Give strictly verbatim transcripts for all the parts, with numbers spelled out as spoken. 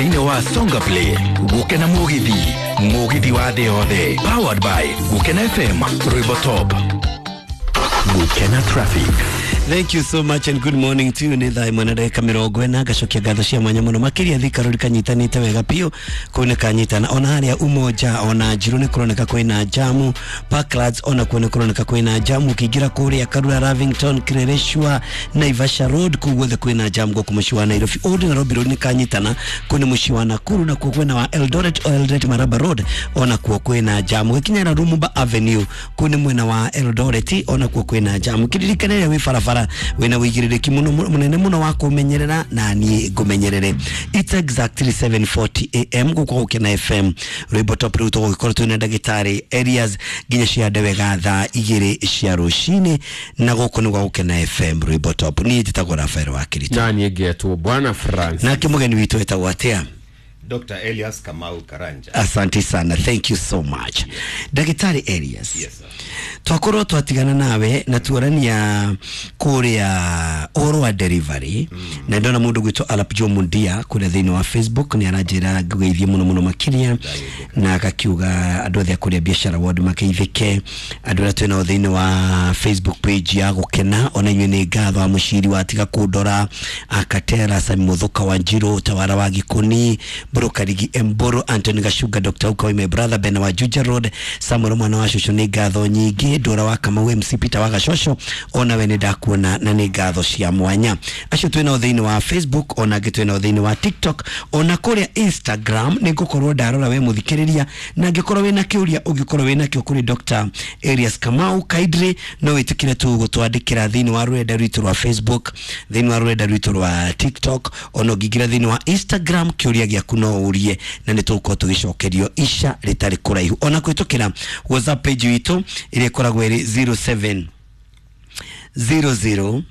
Thĩinĩ wa Songa Play Gũkena Mũgithi, Mũgithi wa thĩ yothe, powered by Gũkena F M, Rwĩmbo Top, Gũkena Traffic. Thank you so much and good morning to you. Nĩ thaa ĩmwe na ndagĩka mĩrongo ĩna. Ngacokia ngatho cia mwanya mũno makĩria. Thika Road kanyitanĩte wega biũ, kũu nĩ kanyitana. Ona harĩa Umoja ona Njirũ nĩ kũroneka kwĩna jamu. Parklands ona kuo nĩ kũroneka kwĩna jamu. Ũkĩingĩra kũrĩa Karura, Lavington, Kileleshwa, Naivasha Road, kũu guothe kwĩna jamu gũkũ mũciĩ wa Nairobi. Old Nairobi Road nĩ kanyitana, kũu nĩ mũciĩ wa Nakuru, na kuo kwĩna wa Eldoret, Eldoret Maraba Road ona kuo kwĩna jamu. Gĩkinyĩra Lumumba Avenue, kũu nĩ mwena wa Eldoret, ona kuo kwĩna jamu. Kĩririkane rĩrĩa wĩ barabara wĩna wĩigĩrĩrĩki mũno mũnene mũno wa kũmenyerera, na niĩ ngũmenyerere. It's exactly seven forty a m gũkũ Gũkena F M, Rwĩmbo Top. Rĩu tũgũgĩkorwo twĩna ndagĩtarĩ Elias nginya ciande wega thaa igĩrĩ cia rũcinĩ, na gũkũ nĩ gwa Gũkena F M, Rwĩmbo Top. Niĩ njĩtagwo Rafael wa Kirito. Na niĩ ngetwo Bwana France. Nake mũgeni witũ etagwo atĩa? Doctor Elias Kamau Karanja. Asante sana, thank you so much, Ndagĩtarĩ Elias. Yes, sir. Twakorwo twatigana nawe na tuorania kuria ũhoro wa delivery mm. na ndona mũndũ gwĩtwo Arap Joe Mundia kũrĩa thĩinĩ wa Facebook nĩ aranjĩra ngũgeithie mũno mũno makĩria, na akakiuga andũ othe a kũrĩa biashara ward makeithĩke. Andũ arĩa twĩnao thĩinĩ wa Facebook page ya Gũkena, ona inyuĩ nĩ ngatho. Wa mũciri watiga kũndora, Akatera Sami, Mũthũka wa Njirũ, Tawara wa Gĩkũni, Mbũrũ Emboro, Anthony Gashunga, Doctor Ukawi, my brother Ben wa Juja Road, Samuel mwana wa cũcũ, nĩ ngatho nyingĩ. Ndũra wa Kamau, M C Peter wa Gacocho, ona we nĩ ndakuona na nĩ ngatho cia mwanya. Acio twĩnao thĩinĩ wa Facebook, ona angĩ twĩnao thĩinĩ wa TikTok, ona kũrĩa Instagram. Nĩ ngũkorwo ndarora we mũthikĩrĩria, na angĩkorwo wĩna kĩũria ũngĩkorwo wĩna kĩo kũrĩ Doctor Elias Kamau Kaidre, no wĩtĩkĩre tu gũtwandĩkĩra thĩinĩ wa rũrenda rwitũ rwa Facebook, thĩinĩ wa rũrenda rwitũ rwa TikTok, ona ũngĩingĩra thĩinĩ wa Instagram, kĩũria gĩaku no ũrie na nĩ tũgũkorwo tũgĩcokerio ica rĩtarĩ kũraihu, ona kũhĩtũkĩra WhatsApp page witũ ĩrĩa ĩkoragwo ĩrĩ zero seven zero zero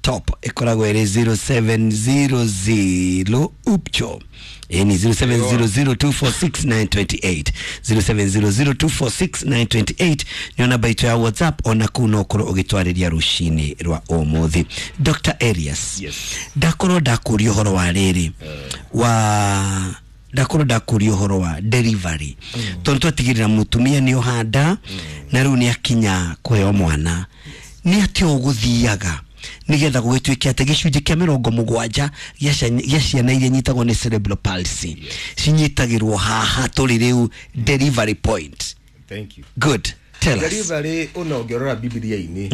top, ĩkoragwo ĩrĩ zero seven zero zero upcho ni zero seven zero zero two four six nine two eight, zero seven zero zero two four six nine two eight nĩyo namba itũ ya WhatsApp. Ona kũu no ũkorwo ũgĩtwarĩria rũcinĩ rwa ũmũthĩ. Doctor Elias, Yes. ndakorwo ndakũria ũhoro wa rĩrĩ wa ndakorwo ndakũria ũhoro wa delivery, tondũ twatigĩrĩra mũtumia nĩ ohanda na rĩu nĩ akinya kũheo mwana, nĩ atĩa ũgũthiaga nigetha gũgĩtuĩke atĩ gĩcunjĩ kĩa mĩrongo mũgwanja gĩa cia- gĩa ciana iria nyitagwo nĩ cerebral palsy cinyitagĩrwo haha tũrĩ rĩu, delivery point? Thank you. Good, tell us. Delivery, ona ũngĩrora Bibilia-inĩ,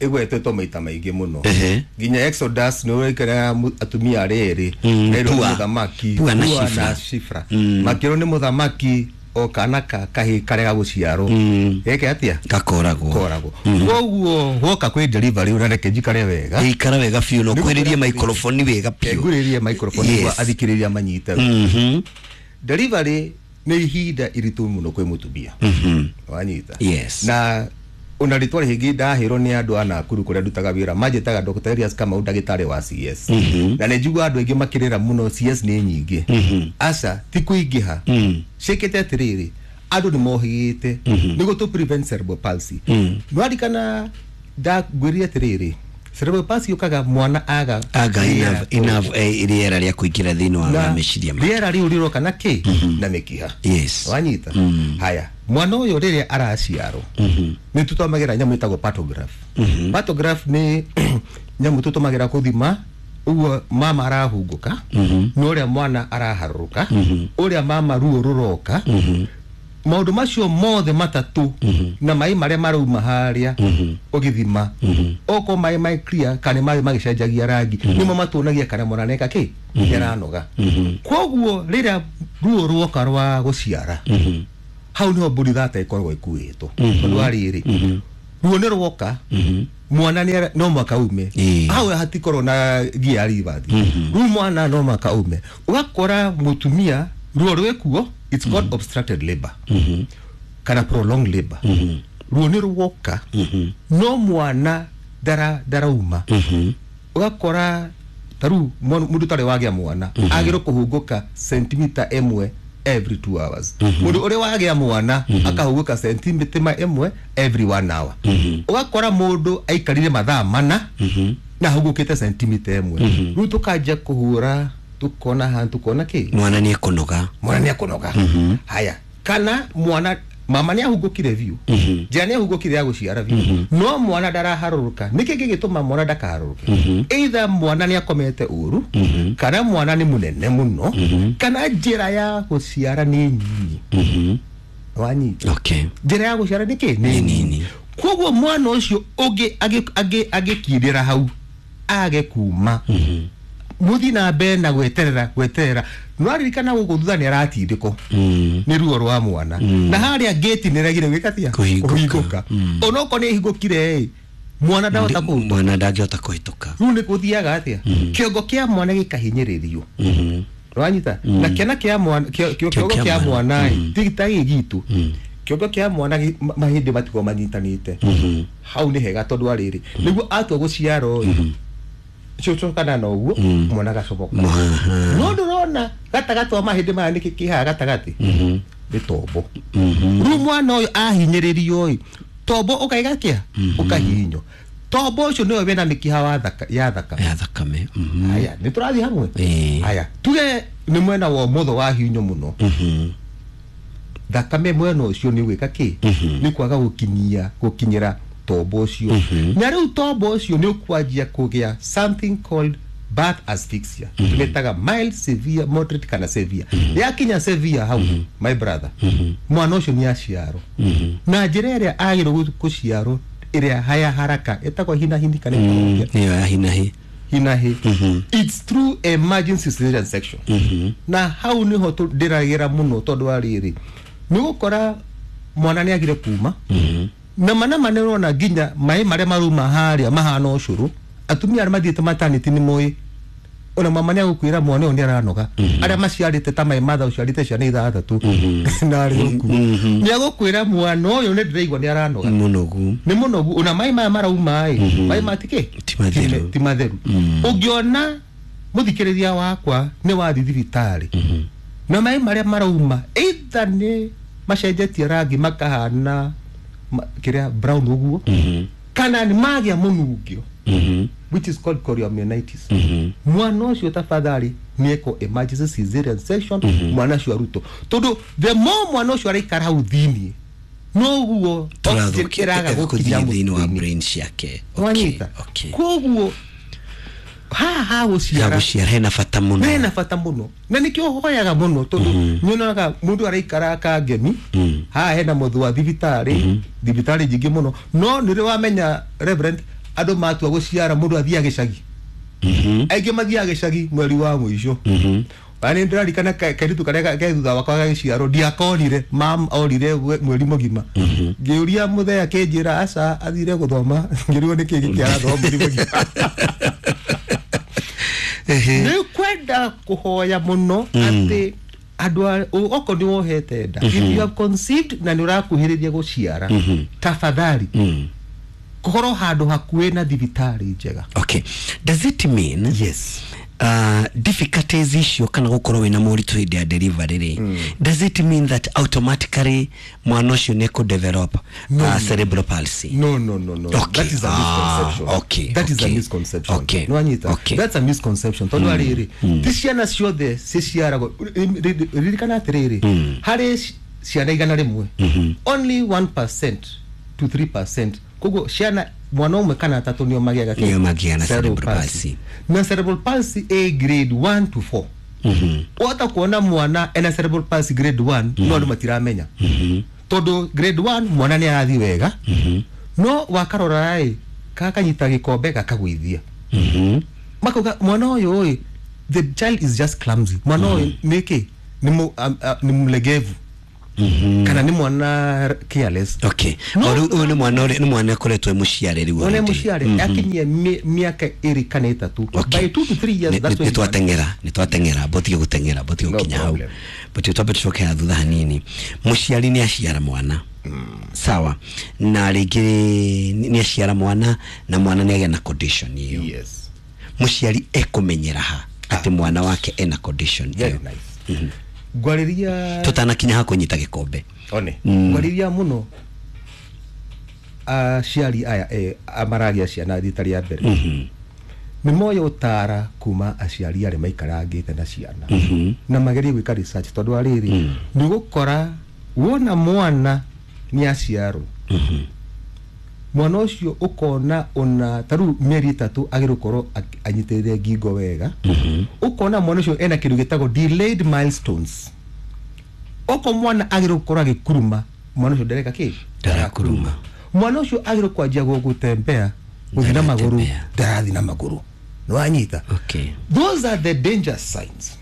ĩgwetetwo maita maingĩ mũno. Ehe. Nginya Exodus nĩ ũrekera atumia arĩa erĩ Mm, merwo nĩ Pua. mũthamaki. Pua na Pua Shifra. na Shifra makĩrwo nĩ mũthamaki o kana ka kahĩ karega gũciarwo geke atĩa? Gakoragwo. Koragwo. Koguo woka kwĩ delivery, ũrareke njikare wega. Ikara wega biũ no kwĩrĩrie microphone wega biũ. Ngurĩrie microphone Yes. nĩguo athikĩrĩria manyite. Mhm. Delivery nĩ ihinda iritũ mũno kwĩ mũtumia, wanyita? Yes. Na ona rĩtwa rĩngĩ ndahĩrwo nĩ andũ a Nakuru kũrĩa ndutaga wĩra, manjĩtaga Doctor Elias Kamau, ndagĩtarĩ wa C S, na nĩ njiguaga andũ aingĩ makĩrĩra mũno C S nĩ nyingĩ. Aca, ti kũingĩha, ciĩkĩte atĩrĩrĩ, andũ nĩ mohĩgĩte nĩguo tũ prevent cerebral palsy. Nĩwarikana ndangwĩrire atĩrĩrĩ, cerebral palsy yũkaga mwana aga aga rĩera. enough enough eh, rĩera rĩa kũingĩra thĩinĩ wa Na meciria make. Rĩera rĩu rĩroka na kĩ? Na mĩkiha. Yes. Wanyita? Haya, mwana ũyũ rĩrĩa araciarwo nĩ tũtũmagĩra nyamũ ĩtagwo partograph. Partograph nĩ nyamũ tũtũmagĩra kũthima ũguo mama arahungũka na ũrĩa mwana araharũrũka, ũrĩa mama ruo rũroka, maũndũ macio mothe matatũ, na maĩ marĩa marauma harĩa ũgĩthima, okorwo maĩ maĩ clear kana maĩ magĩcenjagia rangi, nĩmo matuonagia kana mwana neka kĩ nĩaranoga. Koguo rĩrĩa ruo ruoka rwa gũciara, hau niho mbũri thata ĩkoragwo ĩkuĩtwo, tondũ wa rĩrĩ, ruo nĩ rwoka, mwana nĩ ara- no mwaka ume. Ĩĩ. Hau hatikorwo na gia ribathi rĩu, mwana no mwaka ume. Ũgakora mũtumia ruo rwĩkuo, it's called obstructed labor kana prolonged labor. Ruo nĩ rwoka no mwana ndara ndarauma. Ũgakora ta rĩu mwana- mũndũ ũtarĩ wagĩa mwana agĩrwo kũhungũka sentimita ĩmwe every two hours, mũndũ ũrĩa wagĩa mwana akahungũka sentimita ĩmwe every one hour. Ũgakora mũndũ aikarire mathaa mana na ahungũkĩte sentimita ĩmwe. Rĩu tũkanjia kũhũra Tukona hantu kona ki Mwana nĩ ekũnoga. Mwana nĩ ekũnoga. Haya, kana mwana mama nĩ ahungũkire biũ, njĩra nĩ ahungũkire ya gũciara biũ, no mwana ndaraharũrũka. Nĩkĩ gĩgĩtũma mwana ndakaharũrũke? Either mwana nĩ akomete ũru, kana mwana nĩ mũnene mũno, kana njĩra ya gũciara nĩ nyinyi. Wanyita? Okay. Njĩra ya gũciara nĩ kĩ? Nĩ nini. Koguo mwana ũcio ũngĩ agĩkindĩra hau age kuma, muthi na mbere na gweterera gweterera, nwaririkana gũkũ thutha nĩ aratindĩkwo nĩ ruo rwa mwana, na harĩa gate nĩ regire gwĩka Kũhingũka. Onokorwo nĩ ĩhingũkire ĩ, mwana ndahota kũhĩtũka. Mwana ndangĩhota kũhĩtũka. Rĩu nĩ gũthiaga atĩa? Kĩongo kĩa mwana gĩkahinyĩrĩrio. Wanyita? Na kĩana kĩa mwana, kĩongo kĩa mwana ĩ, ti ta gĩ gitũ. Kĩongo kĩa mwana mahĩndĩ matigwo manyitanĩte. Hau nĩ hega tondũ arĩrĩ nĩguo atua gũciarwo ĩ, cũcũkana na ũguo mwana agacomoka. No ndũrona gatagatĩ wa mahĩndĩ maya nĩkĩ kĩ haha gatagatĩ? Nĩ tombo. Rĩu mwana ũyũ ahinyĩrĩrio ĩ, tombo ũkaiga kĩa? Ũkahihinywo. Tombo ũcio nĩwe wĩna mĩkiha wa thaka, ya thakame. Ya thakame. Haya, nĩ tũrathiĩ hamwe? Haya, tuge nĩ mwena wa ũmotho wahihinywo mũno. Thakame mwena ũcio nĩ gwĩka kĩ? Nĩ kwaga gũkinyia, gũkinyĩra tombo ũcio. Na rĩu tombo ũcio nĩ ũkwanjia kũgĩa something called birth asphyxia. Tũmĩtaga mild, severe, moderate kana severe. Yakinya severe hau, my brother, mwana ũcio nĩ aciarwo. Na njĩra ĩrĩa agĩrĩirwo gũciarwo ĩrĩa haya haraka ĩtagwo hinahini kana ĩtagwo Nĩyo ya hinahi. Hinahi. It's through emergency cesarean section. Na hau nĩho ndĩragĩra mũno tondũ wa rĩrĩ, nĩ ũgũkora mwana nĩ agire kuma, na mana mana ũrona nginya maĩ marĩa marauma harĩa mahana ũcũrũ. Atumia arĩa mathiĩte maternity nĩ moĩ, ona mama nĩ agũkwĩra mwana ũyũ nĩ aranoga. Arĩa maciarĩte ta my mother ũciarĩte ciana ithathatũ na arĩ ũkuo, nĩ agũkwĩra mwana ũyũ nĩ ndĩraigua nĩ aranoga. Mũnogu. Nĩ mũnogu. Ona maĩ maya marauma ĩ, maĩ ma tikĩ? Ti matheru. Ti matheru. Ũngĩona mũthikĩrĩria wakwa nĩ wathiĩ thibitarĩ na maĩ marĩa marauma either nĩ macenjetie rangi makahana kĩrĩa brown ũguo, kana nĩ magĩa mũnungio, which is called chorioamnionitis. Mwana ũcio tafadhali nĩ eko emergency cesarean section, mwana ũcio arutwo. Tondũ the more mwana ũcio araikara hau thĩiniĩ, noguo oxygen ĩraga gũkinya thĩinĩ wa brain ciake. Wanyita? Koguo haha gũciara gũciara hena bata mũno. Hena bata mũno. Na nĩkĩo hoyaga mũno tondũ nyonaga mũndũ araikara kangemi, haha hena mũthũ wa thibitarĩ, thibitarĩ nyingĩ mũno. No nĩ rĩ wamenya Reverend, andũ matua gũciara mũndũ athiaga gĩcagi. Aingĩ mathiaga gĩcagi mweri wa mũico. Na nĩ ndĩraririkana kairĩtu karĩa ke thutha wakwa gagĩciarwo, ndiakonire, mam orire mweri mũgima. Ngĩũria mũthee akĩnjĩra aca athire gũthoma, ngĩrigwo nĩkĩ gĩkĩ arathoma mweri mũgima. Nĩ kwenda kũhoya mũno atĩ andũ okorwo nĩ wohete nda, if you have conceived na nĩ ũrakuhĩrĩria gũciara, tafadhali kũkorwo handũ hakuhĩ na thibitarĩ njega. Okay. Does it mean yes, uh, difficulties icio kana gũkorwo wĩna moritũ hĩndĩ ya delivery rĩ, does it mean that automatically mwana ũcio nĩ kũ develop uh, cerebral palsy? No, no, no, no. Okay. That is a misconception. Ah, okay. That okay. is a misconception. Okay. No, Anita. Okay. That's a misconception. Tondũ rĩrĩ, ti ciana ciothe ciciaragwo. Ririkana atĩrĩrĩ, harĩ ciana igana rĩmwe, only one percent to three percent. Koguo ciana mwana ũmwe kana atatũ nĩo magĩaga nĩo magĩaga na cerebral palsy. Na cerebral palsy A grade one to four. Wahota kuona mwana ena cerebral palsy grade one, no andũ matiramenya. Tondũ grade one mwana nĩ arathiĩ wega, no wakarora ĩ, gakanyita gĩkombe gakagũithia. Makauga mwana ũyũ ĩ, the child is just clumsy. Mwana ũyũ nĩkĩ? Nĩ mũlegevu. Kana nĩ mwana careless. Okay. Ũyũ nĩ mwana ũrĩa nĩ mwana akoretwo e mũciare rĩu. Mwana mũciare akinyie mĩaka ĩrĩ kana ĩtatũ. By two to three years that's when nĩ twateng'era, nĩ twateng'era, botige gũteng'era, botige gũkinya hau. But twambe tũcoke haha thutha hanini. Mũciari nĩ aciara mwana. Sawa. Na rĩngĩ nĩ aciara mwana na mwana nĩ agĩa na condition ĩyo. Yes. Mũciari ekũmenyera ha atĩ mwana wake ena condition ĩyo. Very nice. Ngwarĩria tutanakinya ha kũnyita gĩkombe. One. Ngwarĩria mũno aciari aya eh, maragia ciana rita rĩa mbere. Nĩ moya ũtara kuma aciari arĩa maikarangĩte na ciana na magerie gwĩka research tondũ wa rĩrĩ nĩ ũgũkora wona mwana nĩ aciarwo mwana ũcio ũkona ona ta rĩu mĩeri ĩtatũ agĩrĩirwo gũkorwo ak- anyitĩrĩire ngingo wega ũkona mwana ũcio ena kĩndũ gĩtagwo delayed milestones oko mwana agĩrĩirwo gũkorwo agĩkuruma mwana ũcio ndareka kĩ Ndarakuruma. mwana ũcio agĩrĩirwo kwanjia gũtembea gũthiĩ na magũrũ Ndaratembea. ndarathiĩ na magũrũ nĩwanyita Okay. those are the danger signs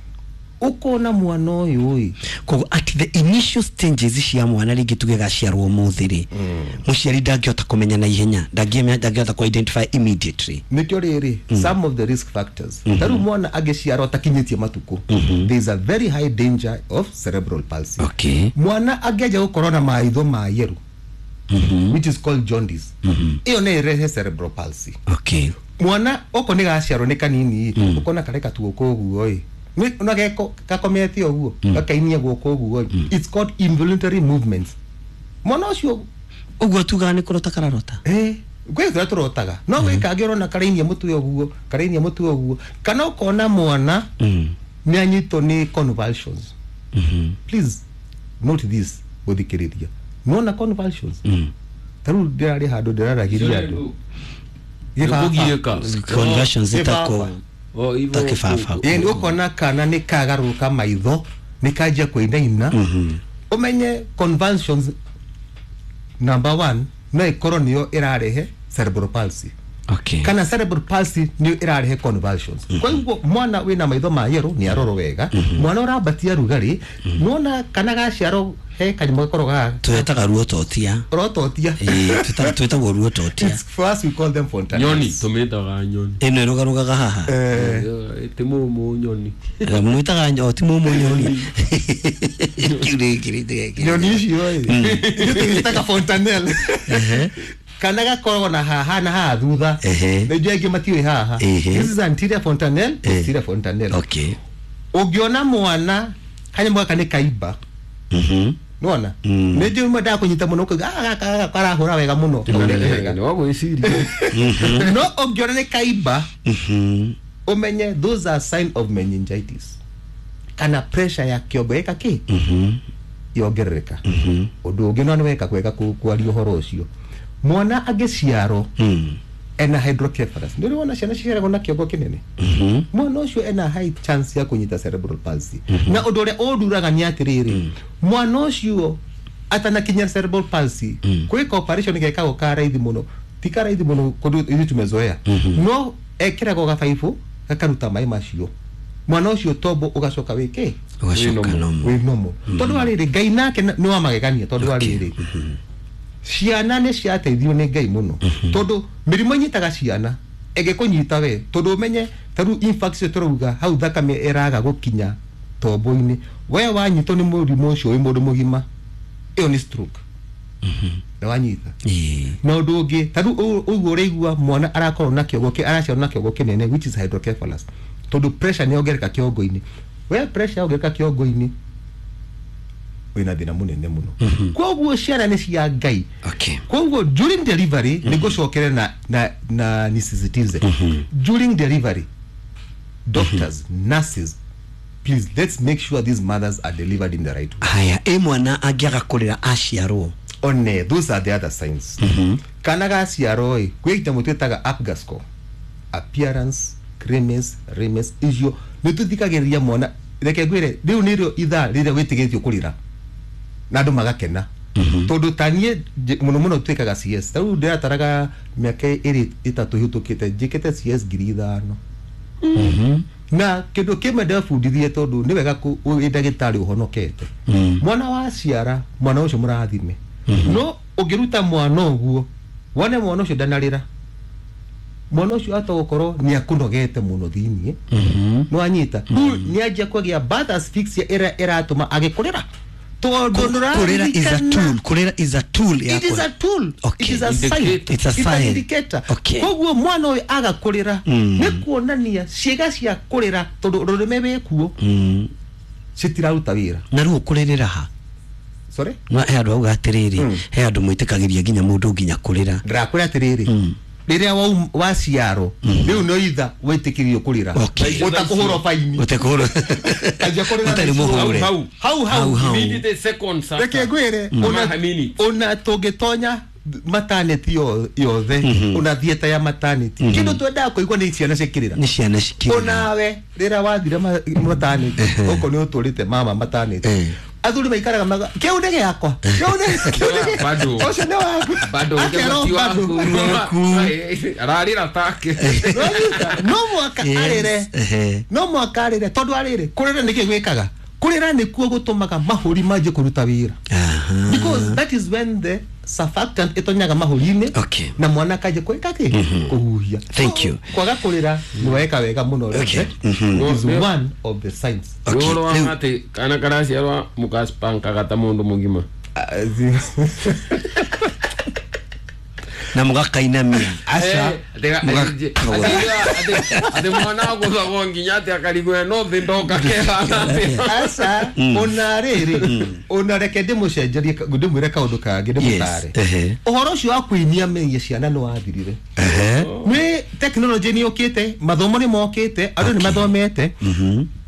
ũkona mwana ũyũ ĩ Koguo at the initial stages cia mwana rĩngĩ tuge gaciarwo ũmũthĩ rĩ mũciari ndangĩhota kũmenya na ihenya ndangĩmenya ndangĩhota kũ identify immediately nĩkĩo rĩrĩ some of the risk factors ta rĩu mwana angĩciarwo atakinyĩtie matukũ there is a very high danger of cerebral palsy okay mwana angĩanjia gũkorwo na maitho ma yellow which is called jaundice ĩyo no ĩrehe cerebral palsy okay mwana oko nĩ gaciarwo nĩ kanini ũkona kareka tuoko ũguo ĩ Nĩ- na geko gakomete ũguo gakainia guoko ũguo ĩ it's called involuntary movements mwana ũcio ũguo tugaga nĩ kũrota kararota eh gwĩ tũrĩa tũrotaga no gwĩ kangĩ ũrona karainia mũtwe ũguo karainia mũtwe ũguo kana ũkona mwana nĩ anyitwo nĩ convulsions please note this gũthikĩrĩria nona convulsions ta rĩu ndĩrarĩ handũ ndĩraragĩria andũ Gĩbaba. Nĩkũgiĩka. conversions Gĩbaba. itako Oh, hivyo ta kĩbaba Ĩĩ, nĩ ũkona kana nĩ kagarũrũka maitho nĩ kanjia kũinaina ũmenye convulsions number one no ĩkorwo nĩyo ĩrarehe cerebral palsy okay kana cerebral palsy nĩyo ĩrarehe convulsions kwa hivyo mwana wĩna maitho ma yellow nĩ arorwo wega mwana ũrambatia rugarĩ nona kana gaciarwo he kanyamũ gakorwo ga twetaga ruototia rototia Ĩĩ, twĩtaga- twĩtagwo ruototia It's for us we call them fontanelles nyoni tũmĩtaga nyoni ĩno ĩrũgarũgaga haha eh ti mũmũ nyoni mwĩtaga o ti mũmũ nyoni Kĩu nĩ kĩrĩ- nyoni icio ĩ ithuĩ tũgĩtaga fontanelle kana gakoragwo na haha na haha thutha Ehe. na ithuĩ aingĩ matiũĩ haha Ehe. this is anterior fontanelle posterior fontanelle okay ũngĩona mwana kanyamũ gaka nĩ kaimba Mhm. nĩwona nĩ njũĩ mwendaga kũnyita mũno ũkauga "Ah, gaka gaka karahũra wega mũno nĩ wagwĩciria no ũngĩona nĩ kaimba Mhm. ũmenye those are sign of meningitis kana pressure ya kĩongo ĩka kĩ Mhm. yongerereka ũndũ ũngĩ no nĩ weka kwega kũ- kwaria ũhoro ũcio mwana angĩciarwo Mm. ena hydrocephalus nĩ ũrĩ wona ciana ciciaragwo na kĩongo kĩnene Mhm. mwana ũcio ena high chance ya kũnyita cerebral palsy na ũndũ ũrĩa ũnduraga nĩ atĩrĩrĩ mwana ũcio atanakinya cerebral palsy gwĩka operation gekagwo ka raithi mũno ti ka raithi mũno kũndũ ithuĩ tumezoea no ekĩragwo gabaibũ gakaruta maĩ macio mwana ũcio tombo ũgacoka wĩkĩ Ũgacoka normal. wĩ normal tondũ wa rĩrĩ ngai nake nĩ wa magegania tondũ wa rĩrĩ ciana nĩ ciateithio nĩ ngai mũno tondũ mĩrimũ ĩnyitaga ciana ĩngĩkũnyita we tondũ ũmenye ta rĩu infarct ĩyo tũrauga hau thakame ĩraga gũkinya tombo-inĩ we wanyitwo nĩ mũrimũ ũcio wĩ mũndũ mũgima ĩyo nĩ stroke na wanyita Ĩĩ. na ũndũ ũngĩ ta rĩu ũũ- ũguo ũraigua mwana arakorwo na kĩongo kĩ araciarwo na kĩongo kĩnene which is hydrocephalus tondũ pressure nĩ yongereka kĩongo-inĩ we pressure yongereka kĩongo-inĩ wĩna thĩna mũnene mũno koguo ciana nĩ cia ngai okay koguo during delivery nĩ ngũcokere na, na, na nisisitize during delivery doctors nurses please let's make sure these mothers are delivered in the right way haya ĩ mwana angĩaga kũrĩra aciarwo one those are the other signs kana gaciarwo ĩ gwĩ kĩnyamũ twĩtaga apgar score appearance grimace grimace icio nĩ tũthikagĩrĩria mwana reke ngwĩre rĩu nĩrĩo ithaa rĩrĩa wĩtĩkĩrĩtio kũrĩra na andũ magakena tondũ ta niĩ nj- mũno mũno twĩkaga cs ta rĩu ndĩrataraga mĩaka ĩrĩ ĩtatũ ĩhĩtũkĩte njĩkĩte cs ngiri ithano na kĩndũ kĩmwe ndebundithirie tondũ nĩ wega kũ- wĩ ndagĩtarĩ ũhonokete mwana waciara mwana ũcio mũrathime no ũngĩruta mwana ũguo wone mwana ũcio ndanarĩra mwana ũcio ata gũkorwo nĩ akũnogete mũno thĩiniĩ nĩ wanyita rĩu nĩ anjia kũgĩa birth asphyxia ĩrĩa ĩratũma agĩkũrĩra tondũ kũrĩra is a ndũraririkana tool kũrĩra is a tool ya it is kũrĩra. a tool Okay. it is a sign Indicator. It's a It's an sign. indicator Okay. koguo mwana ũyũ aga kũrĩra nĩ kuonania ciĩga cia kũrĩra tondũ rũrĩmĩ wĩkuo Mm. citiraruta wĩra na rĩu ũkũrĩrĩra ha sorry no he andũ auga atĩrĩrĩ he andũ mwĩtĩkagĩria nginya mũndũ nginya kũrĩra ndĩrakwĩra atĩrĩrĩ Rĩrĩa waum- waciarwo rĩu no itha wĩtĩkĩrio kũrĩra. Okay. Ũtakũhũrwo faini. Ũtekũhũrwo. Anjia kũrĩra Ũtarĩ thaa ici. mũhũre. Hau hau Hau, hau. hau. Immediate seconds after. Reke ngwĩre, Mm. ona- Ama minutes. ona tũngĩtonya maternity yo- yothe, ona theatre ya maternity, kĩndũ twendaga kũigua nĩ ciana cikĩrĩra. Nĩ ciana cikĩrĩra. Onawe rĩrĩa wathire ma- maternity, okorwo nĩ ũtũrĩte mama maternity, Eh. athuri maikaraga maga kĩu nĩ gĩakwa, kĩu nĩ kĩu nĩ gĩa- Bado. ũcio nĩ waku. Bado Akerwo ti bado. waku. Ararĩra take. Nĩwanyita? No mwaka Yes. arĩre. Ehe. No mwaka arĩre, tondũ arĩre kũrĩra nĩkĩ gwĩkaga kũrĩra nĩkuo gũtũmaga mahũri manjie kũruta wĩra, Aha. because that is when the surfactant ĩtonyaga mahũri-inĩ Okay. na mwana akanjia kwĩka kĩ kũhuhia. Thank So, you. kwaga kũrĩra nĩ weka wega mũno. Okay. It is Mhm. one of the signs. Okay. Ũhoro wa Rĩu- atĩ kana karaciarwa mũgaspankaga ta mũndũ mũgima. Ah, zi- Na mũgakainamia. aca. Eh, atĩ- Mũga- atĩ- atĩ- atĩ mwana agũthagwo nginya atĩ akarigwo no thĩ ndoka kehana atĩa. Aca, ona rĩrĩ, ona reke ndĩmũcenjerie, ndĩmwĩre kaũndũ kangĩ ndĩmũtare. Ehe. Ũhoro ũcio wa kũinia mĩgia ciana nĩ wathirire. Ehe. Nĩ tekinoronjĩ nĩ yũkĩte, mathomo nĩ mokĩte, andũ nĩ mathomete,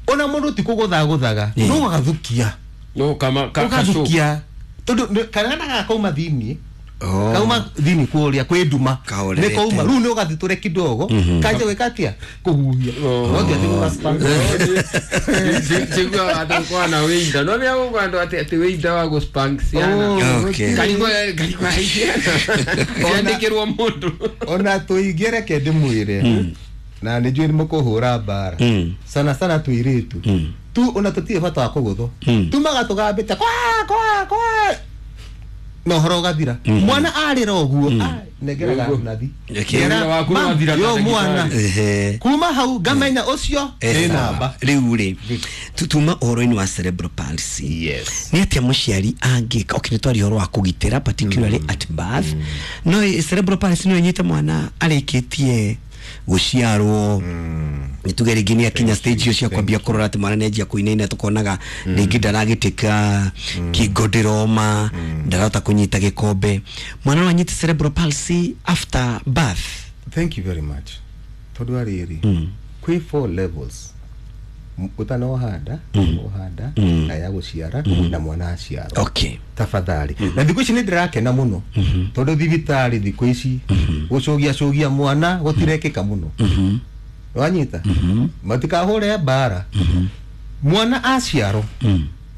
ona mũndũ ti kũgũthagũthaga, no ũgathukia. No kama ka- kashu. Ũgathukia tondũ nĩ- kana gakauma thĩiniĩ, Oh. kauma thĩiniĩ kũrĩa kwĩ nduma, Kahorerete. nĩ kauma rĩu nĩ ũgathitũre kidogo, kanjia gwĩka atĩa kũhuhia. Oh. No ti atĩ gũgaspank. Njiguaga atĩ kwana wĩinda no nĩ agũkwa andũ atĩ atĩ wĩinda wa gũspank ciana. Oh, Okay. Karigwo karigwo ciana ciandĩkĩrwo mũndũ. Ona tũingĩ reke ndĩmwĩre, na nĩ njũĩ nĩ mũkũhũra mbara, Mm. sana sana tũirĩtu tu, ona tũtirĩ bata wa kũgũthwo, tumaga tũgambĩte kwa kwa kwa na ũhoro ũgathira. Mwana arĩra ũguo, ah, nengeraga Ũguo. nathi. Okay. Ngera, Wĩra waku "Mam, nĩwathira ta yo ndagĩtarĩ." mwana. Ehe. Kuma hau ngamenya ũcio nĩ namba. Rĩu rĩ, tuma ũhoro-inĩ wa cerebral palsy. Yes. Nĩ atĩa mũciari angĩka? Okay, nĩ twaria ũhoro wa kũgitĩra, particularly at birth, no ĩ- cerebral palsy no ĩnyite mwana arĩkĩtie gũciarwo, nĩ tuge rĩngĩ nĩ akinya stage icio cia kwambia kũrora atĩ mwana nĩanjia kũinaina, tũkonaga rĩngĩ ndaragĩtĩka kĩngo, ndĩroma, ndarahota kũnyita gĩkombe. Mwana no anyite cerebral palsy after birth? Thank you very much. Tondũ arĩrĩ kwĩ four levels. M- ũtanohanda, ũhanda na ya gũciara na mwana aciarwo. Okay. Tafadhali, na thikũ ici nĩ ndĩrakena mũno tondũ thibitarĩ thikũ ici gũcũgia cũgia mwana gũtirekĩka mũno. Wanyita, matikahũre mbara. Mwana aciarwo,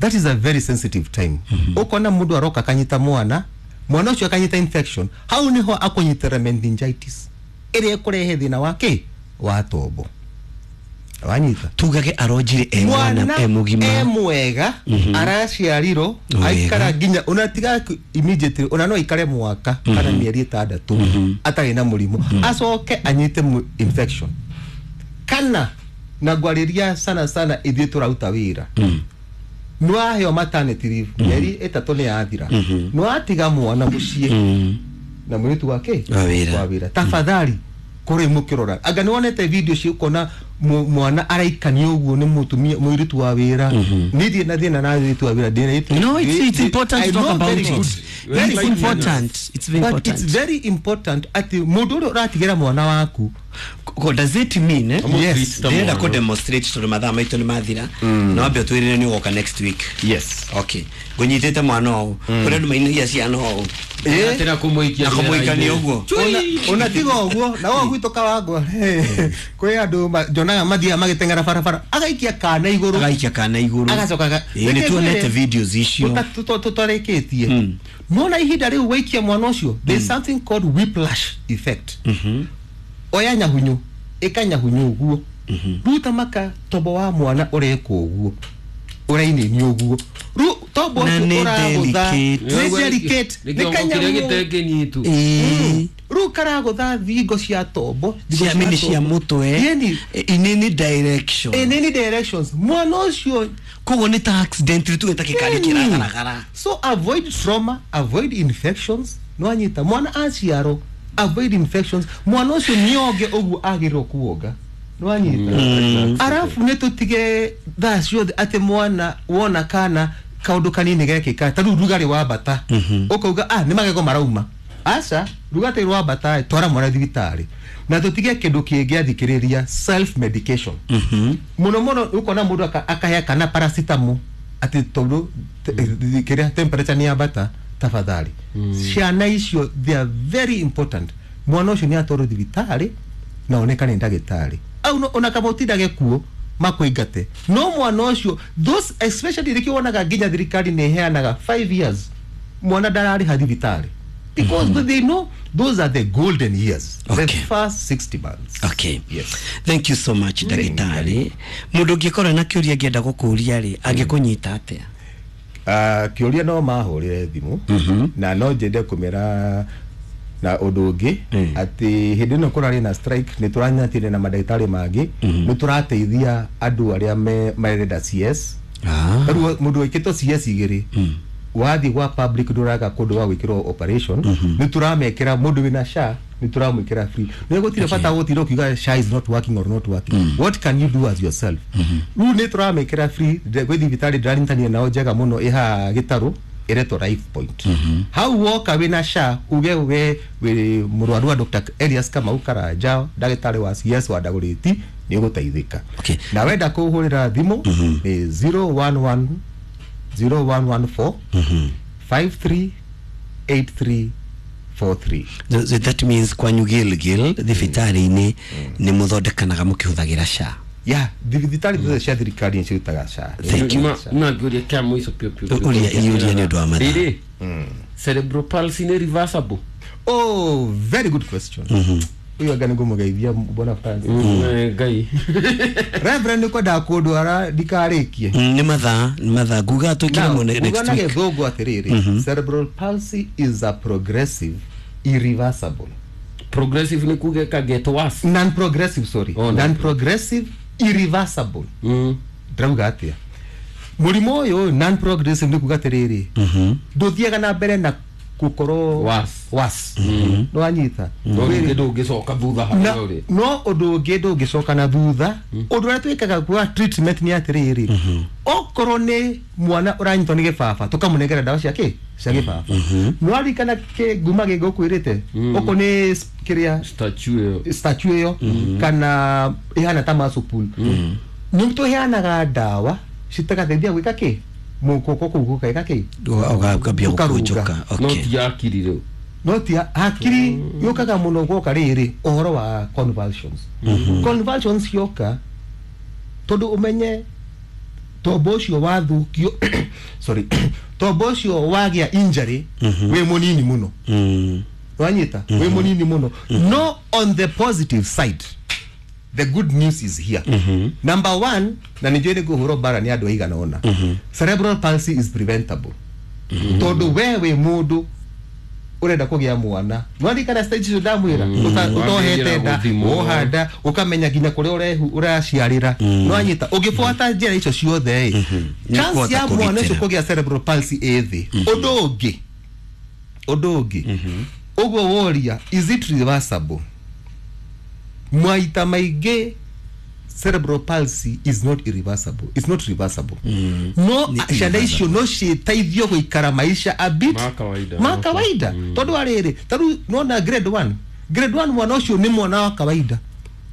that is a very sensitive time. Ũkona mũndũ aroka akanyita mwana, mwana ũcio akanyita infection, hau niho akũnyitĩra meningitis ĩrĩa ĩkũrehe thĩna wa kĩ wa tombo. Wanyita? Tugage aronjire e mwana e mũgima. E mwega, araciarirwo. Wega. Aikara nginya ona tiga ku- immediately, ona no aikare mwaka kana mĩeri ĩtandatũ atarĩ na mũrimũ, acoke anyite mu- infection. Kana na ngwarĩria sana sana ithuĩ tũraruta wĩra, nĩwaheo maternity leave, mĩeri ĩtatũ nĩ yathira, nĩwatiga mwana mũciĩ na mũirĩtu wake Wa wĩra. wa wĩra. Tafadhali kũrĩ mũkĩrora, anga nĩwonete video cio, ũkona mu- mwana araikanio ũguo nĩ mũtumia mũirĩtu wa wĩra. Niĩ ndirĩ na thĩna na mũirĩtu wa wĩra, ndĩna. No, it's, it's important I to talk know about very it. good. Very Very important. It's very but important. it's very important atĩ mũndũ ũrĩa ũratigĩra mwana waku. Ko- does it mean, eh? Yes. Ndĩrenda kũ demonstrate tondũ mathaa maitũ nĩ mathira, na wambe ũtwĩrĩre nĩ ũgoka next week. Yes. Okay, ngũnyitĩte mwana ũũ, kũrĩ andũ mainagia ciana ũũ. Atĩra kũmũikia Na kũmũikania ũguo. Ona- ona tiga ũguo, na ũguo gwitũ Kawangwa kwĩ andũ ma- njonaga mathiaga magĩteng'era barabara, agaikia kana igũrũ. Agaikia kana igũrũ. Agacoka aga- Ĩĩ, nĩ tuonete videos icio. Tũtarĩkĩtie nona ihinda rĩu waikia mwana ũcio, there's something called whiplash effect. Oya nyahunyu, ĩka nyahunyu ũguo, ruta maka tombo wa mwana ũreka ũguo, ũrainĩni ũguo, rĩu tombo Na ũcio nĩ ũragũtha. delicate. Nĩ delicate, nĩ nĩ kĩongo kĩrĩa kanyamũ. gĩtekĩnyitu. Ĩĩ. Rĩu karagũtha thingo cia tombo, thingo Cia mini cia tombo. mũtwe. Yeni. In any direction. In any directions mwana ũcio. Koguo nĩ ta accident tuge ta gĩkari Yeni. kĩragaragara. So avoid trauma, avoid infections. Nwanyita, mwana aciarwo, avoid infections. Mwana ũcio nĩonge ũguo agĩrĩrwo kuonga. Nwanyita? Arabu nĩ tũtige thaa ciothe atĩ mwana wona kana kaũndũ kanini gekĩka, ta rĩu rugarĩ wambata, ũkauga ah nĩ magego marauma. Aca rugate rwambata twara mwana thibitarĩ na tutige kindu kingi athikiriria self medication. Muno muno ukona mundu akahea kana paracetamol ati tondu kiria temperature ni yambata. Tafadhali, ciana icio they are very important. Mwana ucio ni atwarwo thibitarĩ na onekane ndagĩtarĩ au ona kama utindage kuo makuingate no mwana ucio those especially rikio wonaga nginya thirikari ni iheanaga five years mwana ndararĩha thibitarĩ because mm -hmm. they know those are the golden years. Okay. The first sixty months. Okay. Yes. Thank you so much ndagĩtarĩ. Mundu ũngĩkorwo na kĩũria angĩenda gũkũria rĩ angĩkũnyita atĩa? Uh, kĩũria no mahũrĩre thimũ na no njende kũmera na ũndũ ũngĩ atĩ hĩndĩ ĩno kũrarĩ na strike nĩ tũranyitire na mandagĩtarĩ mangĩ nĩ tũrateithia andũ arĩa marenda C S. Rĩu mũndũ wĩkĩtwo C S igĩrĩ wathiĩ gwa public ndũraga kũndũ gwa gwĩkĩrwo operation nĩ tũramekĩra mũndũ wĩna S H A nĩ tũramwĩkĩra free. Nĩ gũtirĩ bata gũtinda ũkiuga S H A is not working or not working. What can you do as yourself? Rĩu nĩ tũramekĩra free gwĩ thibitarĩ ndĩranyitanire nao njega mũno ĩhaha Gĩtarũ ĩretwo Life Point. Hau woka wĩna S H A uge we wĩ mũrwaru wa Doctor Elias Kamau Karanja ndagĩtarĩ wa C S wa Dagoretti nĩ ũgũteithĩka. Na wenda kũhũrĩra thimũ nĩ zero one one zero one one four five three eight three four three. So that means kwanyu Gilgil thibitarĩ-inĩ nĩ mũthondekanaga mũkĩhũthagĩra S H A. Yeah, thibitarĩ ciothe cia thirikari nĩ cirutaga S H A. Thank you. Na ngũria kĩa mũico piũ piũ. Ũria iũria nĩ ũndũ wa mathaa. Rĩrĩ, cerebral palsy nĩ reversible? Oh, very good question. Uyu anga nĩ ngũmũgeithia Bwana Francis. Ngai. Reverend nĩ kwendaga kũndwara ndikarĩkie. Nĩ mathaa, nĩ mathaa nguga twĩkĩre mo next week. Nguga na gĩthũngũ atĩrĩrĩ, cerebral palsy is a progressive irreversible. Progressive nĩ kuga ĩka get worse. Non progressive, sorry. Oh, non progressive irreversible. Mm. Ndĩrauga atĩa? Mũrimũ ũyũ non progressive nĩ kuga atĩrĩrĩ, ndũthiaga na mbere na gukorwo was was no anyita no ngi ndungicoka thutha harĩa ũrĩ no ũndũ ũngĩ ndũngĩcoka na thutha. Ũndũ ũrĩa twĩkaga kwa treatment nĩ atĩrĩrĩ, okorwo nĩ mwana ũranyitwo nĩ gĩbaba tũkamũnengera ndawa cia kĩ cia gĩbaba. No arikana kĩ nguma gĩngũkwĩrĩte okorwo nĩ kĩrĩa statue ĩyo statue ĩyo kana ĩhana ta muscle pull nĩ tũheanaga ndawa citagateithia gwĩka kĩ mukoko kuu gukaika ki ugakambia gukunjuka. No ti hakiri riu, no ti hakiri yukaga muno gwoka riri uhoro wa convulsions. Convulsions yoka tondu umenye tombo ucio wathukio sorry tombo ucio wagia injury wi munini muno wanyita wi munini muno. No, on the positive side the good news is here. Mm -hmm. Number one, na nijue niguhuro bara ni andu aigana ona. Mm -hmm. Cerebral palsy is preventable. Mm -hmm. Tondu wewe mundu urenda kugia mwana nwarikana stage icio ndamwira utohete nda wohanda ukamenya nginya kuria urehu uraciarira nwanyita ungibuata njira icio ciothe chance ya mwana ucio kugia cerebral palsy ĩ thĩ. Undu ungi undu ungi uguo woria, is it reversible? Maita maingĩ cerebral palsy is not irreversible. It's not reversible. Mm. No ciana icio no citeithio guikara maisha a bit ma kawaida. Ma kawaida. Mm. Tondu ariri, taru nona grade one. Grade one mwana ucio ni mwana wa kawaida.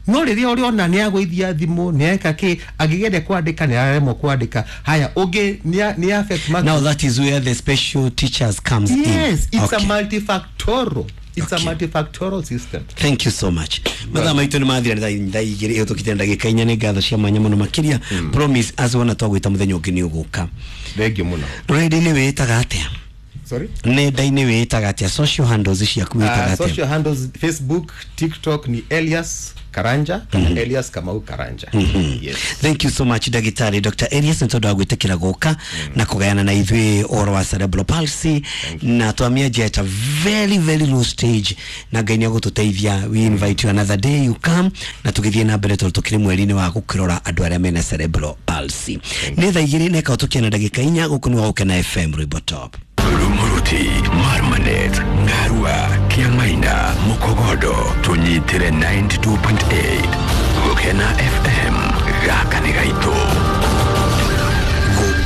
No riria uriona ni agwithia thimu ni eka ki angigende kwandika ni aremwo kwandika. Haya ungi ni affect. Now that is where the special teachers comes in. Yes, it's okay. A multifactorial. It's okay. A multifactorial system. Thank you so much. Mathaa maitũ nĩ mathira nĩ thaa igĩrĩ ĩhĩtũkĩte ndagĩka inya. Nĩ ngatho cia mwanya mũno makĩria. Promise as wona twagwĩta mũthenya ũngĩ nĩ ũgũka. Thank you mũno. Rũrenda-inĩ wĩĩtaga atĩa? Sorry? Nenda-inĩ wĩĩtaga atĩa? Social handles ciaku wĩĩtaga atĩa? Social handles Facebook, TikTok ni Elias Karanja kana mm -hmm. Elias Kamau Karanja. Mm -hmm. Yes. Thank you so much Ndagĩtarĩ Doctor Elias nĩ tondũ wa gwĩtĩkĩra gũka mm -hmm. na kũgayana na ithuĩ ũhoro wa cerebral palsy na twamĩanjia at a very very low stage na Ngai nĩ egũtũteithia. We invite you another day you come na tũgĩthiĩ na mbere tondũ tũkĩrĩ mweri-inĩ wa gũkĩrora andũ arĩa mena cerebral palsy. Nĩ thaa igĩrĩ na ĩkaũtũkia na ndagĩka inya. Gũkũ nĩ wa Gũkena F M Rwĩmbo Top. Rumuruti, Marmanet, Ngarua, Kiamaina, Mukogodo, tunyitire ninety-two point eight. Gũkena F M, gaka nĩ gaitũ.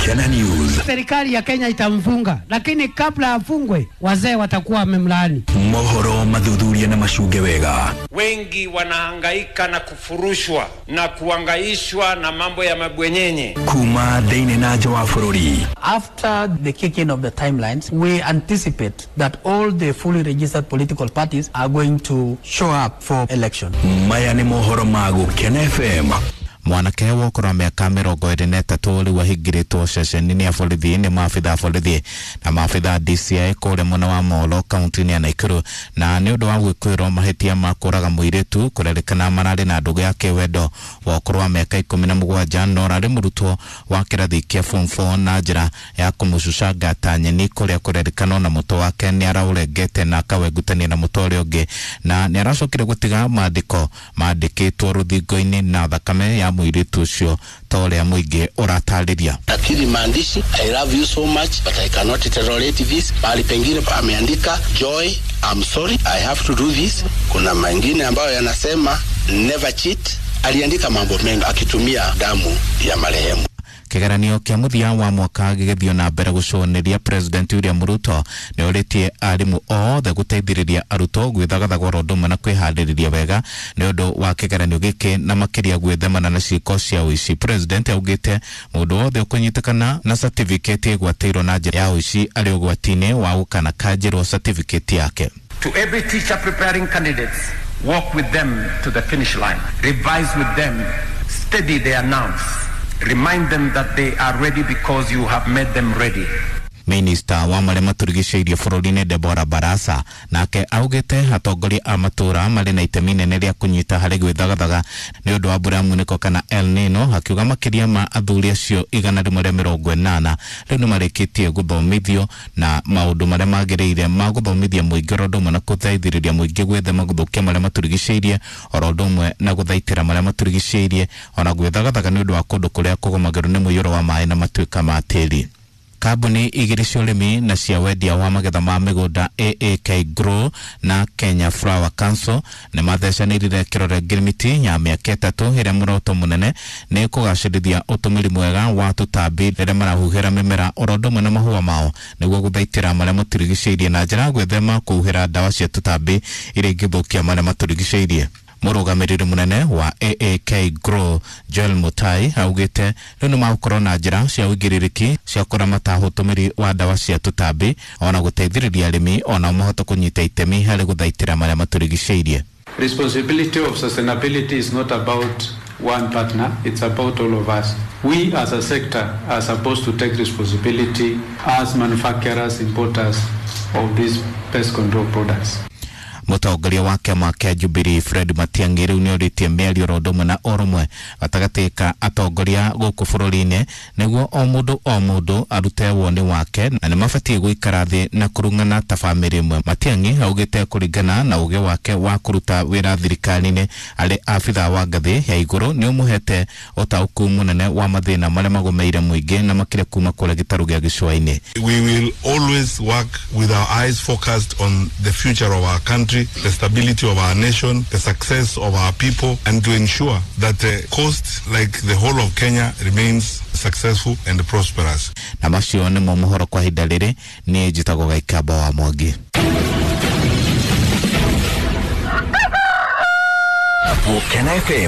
Gukena News. Serikali ya Kenya itamfunga, lakini kabla afungwe wazee watakuwa wamemlaani. Mohoro mathuthuria na macunge wega. Wengi wanahangaika na kufurushwa na kuangaishwa na mambo ya mabwenyenye. Kuma thĩinĩ na nja wa bũrũri. After the kicking of the timelines, we anticipate that all the fully registered political parties are going to show up for election. Maya nĩ mohoro ma Gukena F M. Mwanake wa ũkũrũ wa mĩaka mĩrongo ĩrĩ na ĩtatũ rĩu ahingĩrĩtwo ceceni-inĩ ya borithi nĩ maabitha a borithi na maabitha D C I kũrĩa mwena wa Molo kaunti-inĩ ya Nakuru, na nĩ ũndũ wa gwĩkũĩrwo mahĩtia ma kũraga mũirĩtu kũrerĩkana mararĩ na ndũgũ ya kĩwendo wa ũkũrũ wa mĩaka ikũmi na mũgwanja na ũrarĩ mũrutwo wa kĩrathi kĩa form four na njĩra ya kũmũcucanga ta nyeni kũrĩa kũrerĩkana na mũtwe wake nĩ araũrengete na akawengutania na mũtwe ũrĩa ũngĩ, na nĩ aracokire gũtiga maandĩko mandĩkĩtwo rũthingo-inĩ na thakame ya mũirĩtu ũcio ta ũrĩa mũingĩ ũratarĩria. Lakini maandishi I love you so much but I cannot tolerate this. Mahali pengine ameandika joy, I'm sorry I have to do this. Kuna mengine ambayo yanasema never cheat. Aliandika mambo mengi akitumia damu ya marehemu. Kĩgeranio kĩa mũthia wa mwaka gĩgĩthiĩ na mbere gũcũnĩria President William Ruto nĩ orĩtie arimũ othe gũteithĩrĩria arutwo gwĩthagathaga oro ũndũ ũmwe na kwĩharĩrĩria wega nĩ ũndũ wa kĩgeranio gĩkĩ na makĩria gwĩthemana na ciĩko cia ũici. President augĩte mũndũ wothe ũkũnyitĩkana na certificate ĩgwatĩirwo na njĩra ya ũici arĩ ũgwati-inĩ wa gũkanakanjĩrwo certificate yake. To every teacher preparing candidates, walk with them to the finish line, revise with them, steady their nerves. Remind them that they are ready because you have made them ready. Minister wa marĩa matũrigicĩirie bũrũri-inĩ Deborah Barasa nake augĩte atongoria a matũra marĩ na itemi nene rĩa kũnyita harĩ gwĩthagathaga nĩ ũndũ wa mbura ya munĩko kana El Nino, akiuga makĩria ma athuri acio igana rĩmwe rĩa mĩrongo ĩnana rĩu nĩ marĩkĩtie gũthomithio na maũndũ marĩa magĩrĩire ma gũthomithia mũingĩ oro ũndũ ũmwe na gũteithĩrĩria mũingĩ gwĩthema gũthũkia marĩa matũrigicĩirie oro ũndũ ũmwe na gũthaitĩra marĩa matũrigicĩirie ona gwĩthagathaga nĩ ũndũ wa kũndũ kũrĩa kũgũmagĩrwo nĩ mũiyũro wa maĩ na matuĩka ma tĩri. Kambuni igĩrĩ cia ũrĩmi na cia wendia wa magetha ma mĩgũnda A A K Grow na Kenya Flower Council nĩ mathecanĩrire kĩrore ngirimiti ya mĩaka ĩtatũ ĩrĩa muoroto mũnene nĩ kũgacĩrithia ũtũmĩri mwega wa tũtambi rĩrĩa marahuhĩra mĩmera oro ũndũ ũmwe na mahũa mao nĩguo gũthaitĩra marĩa matũrigicĩirie na njĩra ya gwĩthema kũhuhĩra ndawa cia tũtambi iria ingĩthũkia marĩa matũrigicĩirie. Mũrũgamĩrĩri mũnene wa A A K Grow Joel Mutai augĩte rĩu nĩ magũkorwo na njĩra cia ũigĩrĩrĩki cia kũramata ũtũmĩri wa ndawa cia tũtambi ona gũteithĩrĩria arĩmi ona mahote kũnyita itemi harĩ gũthaitĩra marĩa matũrigicĩirie. Responsibility of sustainability is not about one partner, it's about all of us. We as a sector are supposed to take responsibility as manufacturers, importers of these pest control products. Mũtongoria wa kĩama kĩa Jubilee Fred Matiang'i rĩu nĩorĩtie mĩario oro ũndũ ũmwe na ũrũmwe gatagatĩ ka atongoria gũkũ bũrũri-inĩ nĩguo o mũndũ o mũndũ arute woni wake na nĩ mabatiĩ gũikara thĩ na kũrung'ana ta bamĩrĩ ĩmwe. Matiang'i augĩte kũringana na ũgĩ wake wa kũruta wĩra thirikari-inĩ arĩ abithaa wa ngathĩ ya igũrũ nĩ ũmũhete ũtaũku mũnene wa mathĩna marĩa magũmĩire mũingĩ na makĩria kuma kũrĩa gĩtarũ gĩa gĩcũa-inĩ. We will always work with our eyes focused on the future of our country, the stability of our nation, the success of our people, and to ensure that the coast, like the whole of Kenya, remains successful and prosperous. Na macio nĩmo mohoro kwa ihinda rĩrĩ, niĩ njĩtagwo Gaikamba wa Mwangi. Gukena F M.